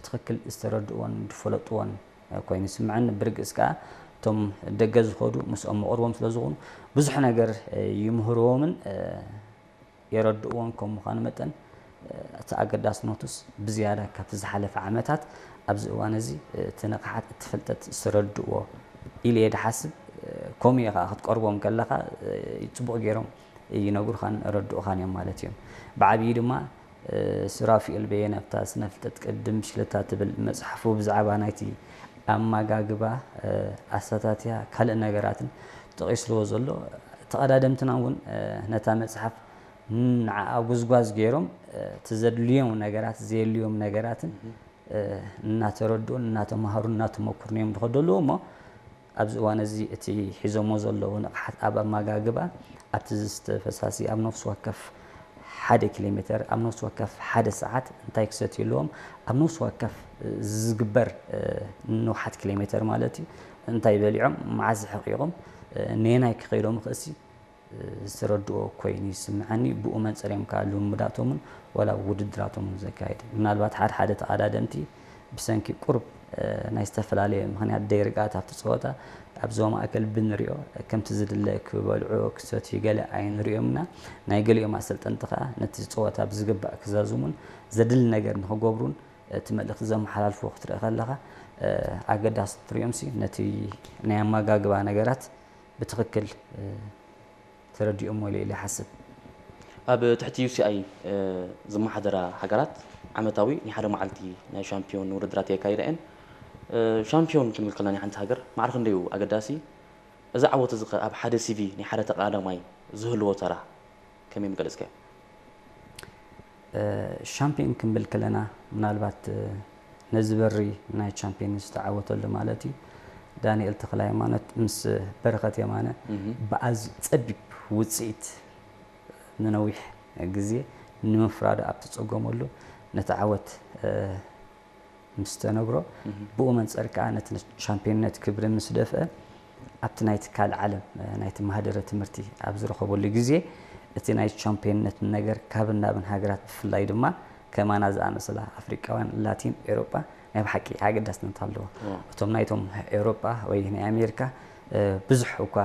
ብትኽክል ዝተረድእዎን ዝፈለጥዎን ኮይኑ ይስምዐኒ። ብርግጽ ከኣ እቶም ደገ ዝኸዱ ምስኦም መቕርቦም ስለ ዝኾኑ ብዙሕ ነገር ይምህርዎምን የረድእዎን ከም ምዃኑ መጠን እቲ ኣገዳስነቱስ ብዝያዳ ካብቲ ዝሓለፈ ዓመታት ኣብዚ እዋን እዚ እቲ ንቕሓት እቲ ፍልጠት ዝተረድእዎ ኢለ እየ ድሓስብ። ከምኡ እየ ከዓ ክትቀርቦም ከለኻ ጽቡቕ ገይሮም ይነግሩኻን ረድኡኻን እዮም ማለት እዮም። ብዓብዪ ድማ ሱራፊኤል በየነ ኣብታ ስነ ፍልጠት ቅድም ሽለታ ትብል መፅሓፉ ብዛዕባ ናይቲ ኣመጋግባ ኣሰታትያ ካልእ ነገራትን ጠቒስልዎ ዘሎ ተቐዳደምትና እውን ነታ መፅሓፍ ንዓኣ ጉዝጓዝ ገይሮም እቲ ዘድልዮም ነገራት ዘየድልዮም ነገራትን እናተረድኡን እናተማሃሩን እናተመኩሩን እዮም ዝኸዱ ኣለዉ እሞ ኣብዚ እዋን እዚ እቲ ሒዞሞ ዘለዉ ንቕሓት ኣብ ኣመጋግባ ኣብቲ ዝስተ ፈሳሲ ኣብ ነፍሲ ወከፍ ሓደ ኪሎ ሜተር ኣብ ነፍሲ ወከፍ ሓደ ሰዓት እንታይ ክሰትዩ ኣለዎም ኣብ ነፍሲ ወከፍ ዝግበር ንውሓት ኪሎ ሜተር ማለት እዩ እንታይ በሊዖም መዓዝ ሕቂቖም ነየናይ ክኸይዶም ክእሲ ዝተረድኦ ኮይኑ ይስምዐኒ። ብኡ መንፅር እዮም ከዓ ልምምዳቶምን ዋላ ውድድራቶምን ዘካይዱ። ምናልባት ሓደ ሓደ ተቐዳደምቲ ብሰንኪ ቁሩብ ናይ ዝተፈላለየ ምኽንያት ደይርግኣት ኣብቲ ፀወታ ኣብ ዞባ ማእከል ብንሪኦ ከምቲ ዝድለ ክበልዑ ክሰትዩ ገለ ኣይንሪኦምና። ናይ ገሊኦም ኣሰልጠንቲ ከዓ ነቲ ፀወታ ብዝግባእ ክዛዝሙን ዘድሊ ነገር ንክገብሩን እቲ መልእኽቲ ዘመሓላልፍዎ ክትርኢ ከለኻ ኣገዳሲ ትሪኦምሲ ነቲ ናይ ኣመጋግባ ነገራት ብትኽክል ተረዲኦሞ ኢለ ኢለ ይሓስብ። ኣብ ትሕቲ ዩ ሲ ኣይ ዝመሓደራ ሃገራት ዓመታዊ ናይ ሓደ መዓልቲ ናይ ሻምፒዮን ውድድራት የካይዳ እየን። ሻምፒዮን ክንብል ከለና ናይ ሓንቲ ሃገር ማዕረ ክንደይ እዩ ኣገዳሲ? እዚ ዓወት እዚ ኸ ኣብ ሓደ ሲ ቪ ናይ ሓደ ተቐዳዳማይ ዝህልዎ ተራ ከመይ ምገለጽካዮ? ሻምፒዮን ክንብል ከለና ምናልባት ነዚ በሪ ናይ ቻምፒየንስ ዝተዓወተሉ ማለት እዩ። ዳንኤል ተኽለሃይማኖት ምስ በረኸት የማነ ብኣዝዩ ጸቢብ ውጽኢት ንነዊሕ ግዜ ንምፍራዱ ኣብ ተጸገመሉ ነቲ ዓወት ምስ ተነግሮ ብኡ መንጸር ከኣ ነቲ ቻምፒየንነት ክብሪ ምስ ደፍአ ኣብቲ ናይ ትካል ዓለም ናይቲ ማህደረ ትምህርቲ ኣብ ዝረኸበሉ ግዜ እቲ ናይ ቻምፒየንነት ነገር ካብን ናብን ሃገራት ብፍላይ ድማ ከማና ዝኣመሰላ ኣፍሪቃውያን ላቲን ኤውሮጳ ናይ ብሓቂ ኣገዳስነት ኣለዎ። እቶም ናይቶም ኤውሮጳ ወይ ናይ ኣሜሪካ ብዙሕ እኳ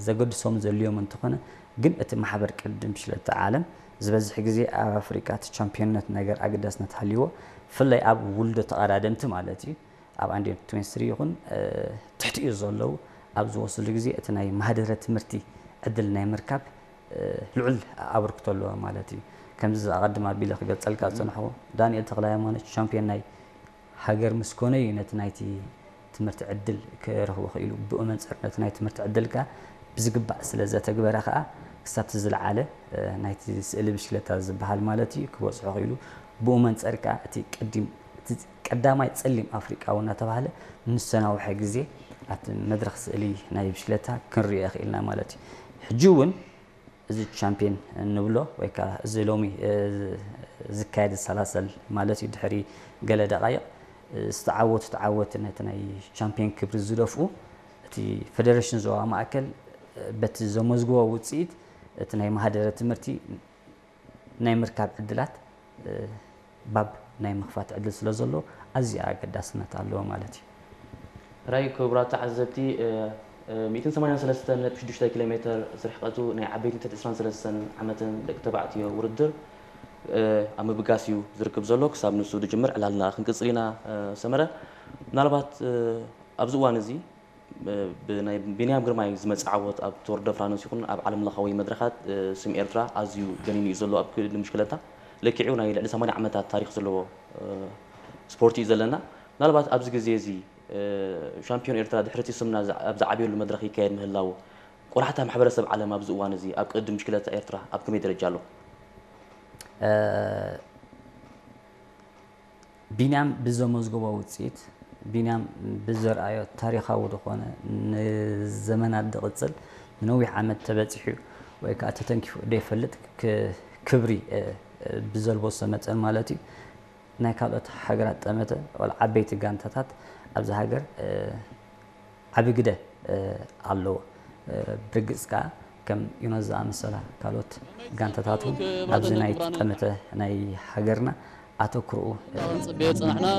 ዘገድሶም ዘልዮም እንተኾነ ግን እቲ ማሕበር ቅድም ሽለተ ዓለም ዝበዝሕ ግዜ ኣብ ኣፍሪቃ እቲ ቻምፒዮንነት ነገር ኣገዳስነት ሃልይዎ ብፍላይ ኣብ ውልዶ ተቐዳደምቲ ማለት እዩ ኣብ ኣንድር ትዌንቲ ስሪ ይኹን ትሕቲኡ ዘለዉ ኣብ ዝወስሉ ግዜ እቲ ናይ ማህደረ ትምህርቲ ዕድል ናይ ምርካብ ልዑል ኣበርክቶ ኣለዎ ማለት እዩ። ከምዚ ኣቐድም ኣቢለ ክገልጸልካ ዝጸናሕኩ ዳንኤል ተኽለሃይማኖት ቻምፒዮን ናይ ሃገር ምስ ኮነ እዩ ነቲ ናይቲ ትምህርቲ ዕድል ክረኽቦ ክኢሉ። ብኡ መንጽር ነቲ ናይ ትምህርቲ ዕድል ከኣ ብዝግባእ ስለ ዘተግበረ ከኣ ክሳብ እቲ ዝለዓለ ናይቲ ስእሊ ብሽክለታ ዝበሃል ማለት እዩ ክበጽሖ ክኢሉ። ብኡ መንጸር ከኣ እቲ ቀዲም እቲ ቀዳማይ ጸሊም ኣፍሪቃዊ እናተባህለ ንዝተናውሐ ግዜ ኣብቲ መድረኽ ስእሊ ናይ ብሽክለታ ክንሪኦ ክኢልና ማለት እዩ። ሕጂ እውን እዚ ቻምፒየን እንብሎ ወይ ከዓ እዚ ሎሚ ዝካየድ ዝሰላሰል ማለት እዩ ድሕሪ ገለ ደቃይቕ ዝተዓወቱ ተዓወቲ ነቲ ናይ ቻምፒየን ክብሪ ዝደፍኡ እቲ ፌደሬሽን ዞባ ማእከል በቲ ዘመዝግቦ ውፅኢት እቲ ናይ ማህደረ ትምህርቲ ናይ ምርካብ ዕድላት ባብ ናይ ምኽፋት ዕድል ስለ ዘሎ ኣዝዩ ኣገዳስነት ኣለዎ ማለት እዩ። ሕራይ ክቡራት ተዓዘብቲ ሚእትን ሰማንያን ሰለስተን ነጥቢ ሽዱሽተ ኪሎ ሜትር ዝርሕቀቱ ናይ ዓበይቲ ትሕቲ ዕስራን ሰለስተን ዓመትን ደቂ ተባዕትዮ ውድድር ኣብ ምብጋስ እዩ ዝርክብ ዘሎ። ክሳብ ንሱ ዝጅምር ዕላልና ክንቅጽል ኢና ሰመረ። ምናልባት ኣብዚ እዋን እዚ ብናይ ቢንያም ግርማይ ዝመጽእ ዓወት ኣብ ቶር ደ ፍራንስ ይኹን ኣብ ዓለም ለኻዊ መድረኻት ስም ኤርትራ ኣዝዩ ገኒኑ እዩ ዘሎ። ኣብ ክሊ ምሽክለታ ለኪዑ ናይ ልዕሊ ሰማንያ ዓመታት ታሪኽ ዘለዎ ስፖርት እዩ ዘለና። ምናልባት ኣብዚ ግዜ እዚ ሻምፒዮን ኤርትራ ድሕሪ እቲ ስምና ኣብ ዝዓብየሉ መድረኽ ይካየድ ምህላው ቆላሕታ ማሕበረሰብ ዓለም ኣብዚ እዋን እዚ ኣብ ቅድድም ብሽክለታ ኤርትራ ኣብ ከመይ ደረጃ ኣሎ? ቢንያም ብዘመዝገቦ ውፅኢት፣ ቢንያም ብዘርኣዮ ታሪኻዊ ዝኾነ ንዘመናት ዝቕፅል ንነዊሕ ዓመት ተበፂሑ ወይ ከዓ ተተንኪፉ ዘይፈልጥ ክብሪ ብዘልበሶ መጠን ማለት እዩ ናይ ካልኦት ሃገራት ጠመተ ወላ ዓበይቲ ጋንታታት ኣብዚ ሃገር ዓቢ ግደ ኣለዎ። ብርግጽ ከኣ ከም ዩኖስ ዝኣመሰላ ካልኦት ጋንታታት እውን ኣብዚ ናይ ጠመተ ናይ ሃገርና ኣተኩሮኡ